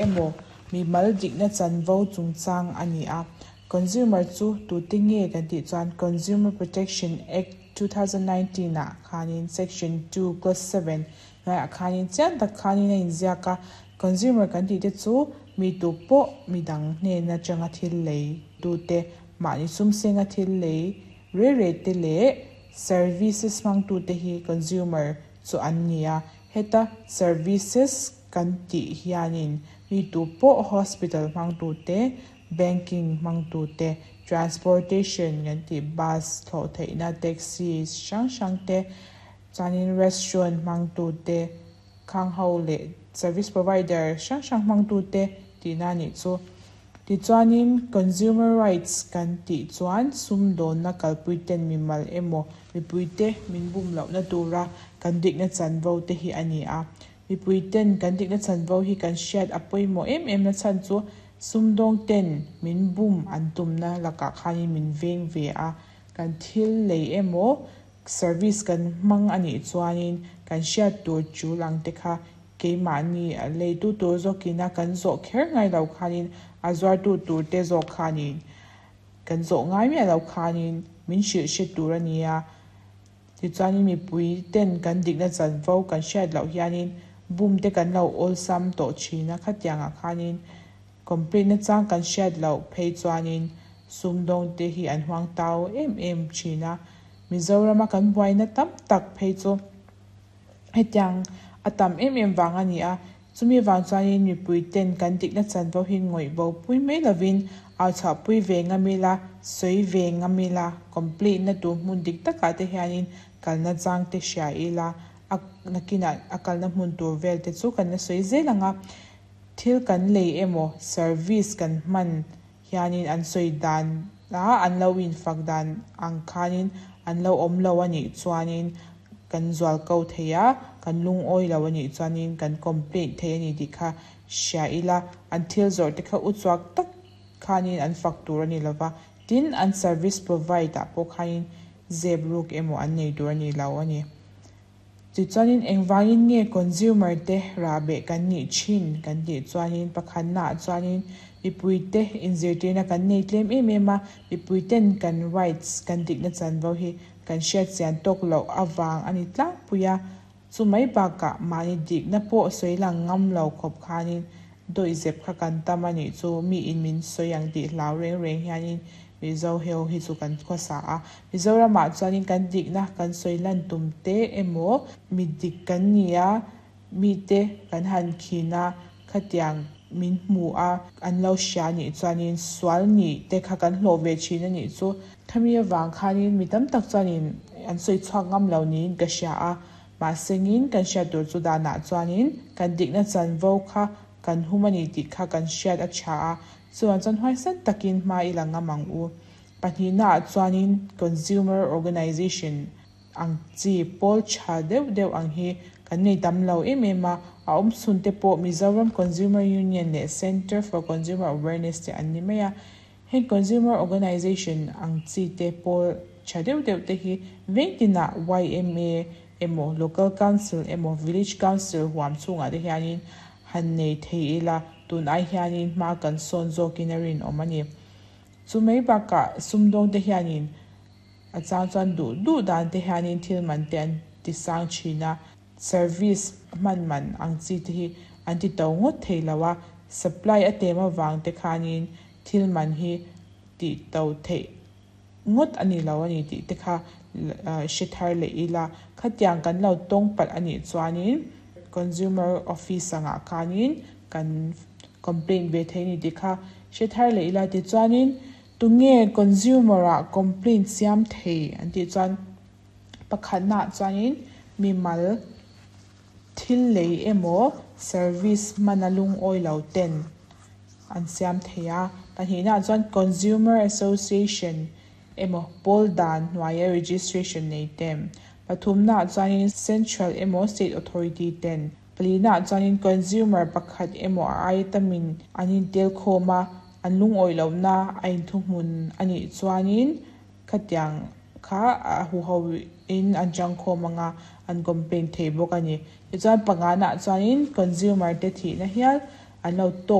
Emaw mimal dikna chanvo chungchang a ni a. Consumer chu tute nge kan tih chuan Consumer Protection Act 2019 ah khanin Section 2 Clause 7 hnuaiah khanin chiang tak khanin a inziak a. Consumer kan tih te chu mi tu pawh midang hnen atanga thil lei tute, mahni sumsenga thil lei re re te leh services hmangtute hi consumer chu an ni a. Heta services kan tih hianin mi tu pawh hospital hmangtute, banking hmangtute, transportation kan tih bus thlawh theihna taxi hrang hrang te, chuanin restaurant hmangtute, khang ho leh service provider hrang hrang hmangtute tihna a nih chu. Tichuanin consumer rights kan tih chuan sumdawnna kalpuiten mimal emaw mipuite min bum lohna tura kan dikna chanvo te hi a ni a. Mipuiten kan dikna chanvo hi kan hriat a pawimawh em em na chhan chu sumdawngten min bum an tumna lakah khanin min veng ve a, kan thil lei emaw service kan hmang a nih chuanin kan hriat tur tul ang te kha keimahni a leitu tur zawkina kan zawh kher ngai lo khanin a zuartu tur te zawk khanin kan zawh ngai miah lo khanin min hrilh hre tur a ni a. Tichuanin mipui ten kan dikna chanvo kan hriat loh hianin bum te kan lo awlsam tawh thin a, khatiangah khanin complaint na chang kan hriat loh phei chuanin sumdawng te hi an huang tau em em thin a. Mizorama kan buaina tam tak phei chu hetiang a tam em em vang a ni a, chumi vang chuanin mipui ten kan dikna chanvo hi ngawih bo pui mai lovin au chhuah pui ve ngam ila, sawi ve ngam ila, complaint na tur hmun dik takah te hianin kalna chang te hria ila, a nakinah a kalna hmun tur vel te chu kan la sawi zel ang a, thil kan lei emaw service kan hman hianin an sawi dan a an lo infak dan ang khanin an lo awm lo a nih chuanin kan zual ko thei a, kan lungawi lo a nih chuanin kan complaint thei a ni tih kha hria ila, an thil zawrh te kha uchuak tak khanin an fak tur a ni lova, tin an service provide ah pawh khanin zep ruk emaw an nei tur a ni lo a ni. Tichuanin engvangin nge consumer te rahbeh kan nih thin kan tih chuanin pakhatnaah chuanin mipuite inzirtirna kan nei tlem em em a, mipuiten kan rights kan dikna chanvo hi kan hriat chian tawk loh avang a ni tlangpui a, chu mai bakah mahni dikna pawh sawi lang ngam lo khawp khanin Dawihzep kha kan tam a nih chu, mi in min sawi ang tih hlau reng reng hianin Mizo heu hi chu kan khawsa a. Mizoramah chuanin kan dikna kan sawi lan tum te emaw, mi dik kan ni a, mite kan han khin a, khatiang min hmu a, an lo hria nih chuanin sual nih te kha kan hlawh ve thin a nih chu. Khami avang khanin mi tam tak chuanin an sawi chhuak ngam lo niin ka hria a. Mahsengin kan hriat tur chu danah chuanin kan dikna chanvo kha kan hum a ni tih kha kan hriat a tha a, chuan chuan huaisan takin hma i la ngam ang u. Pahnihnaah chuanin Consumer Organization ang chi pawl tha deuh deuh ang hi kan nei tam lo em em a, a awm chhun te pawh Mizoram Consumer Union leh Centre for Consumer Awareness te an ni mai a. Heng Consumer Organization ang chi te pawl tha deuh deuh te hi veng tinah yma emaw Local Council emaw Village Council huam chhungah te hianin han nei thei ila tun ai hianin hma kan sawn zawkin a rinawm a ni. Chu mai bakah sumdawng te hianin a chang chuan duh duh dan te hianin thil man te an ti sang thin a, service hman man ang chi te hi an ti to ngawt thei lo a, supply a tem avang te khanin thil man hi tih to theih ngawt a ni lo a ni tih te kha hre thar leh ila, khatiang kan lo tawng palh a nih chuanin consumer office angah khanin kan complaint ve thei a ni tih kha hre thar leh ila tichuanin tunge consumer ah complaint siam thei an tih chuan Pakhatnaah chuanin mimal thil lei emaw service hmana lungawi lo ten an siam thei a. Pahnihnaah chuan Consumer Association emaw pawl dan hnuaia registration nei ten. Pathumnaah chuanin Central emaw State Authority ten. Palinaah chuanin consumer pakhat emaw a aia tamin an intel khawm a, an lungawi lohna a inthuhmun a nih chuanin Khatiang kha a huho in an changkhawm ang a, an complaint thei bawk a ni. Tichuan panganah chuanin consumer te thihna hial an lo tawk.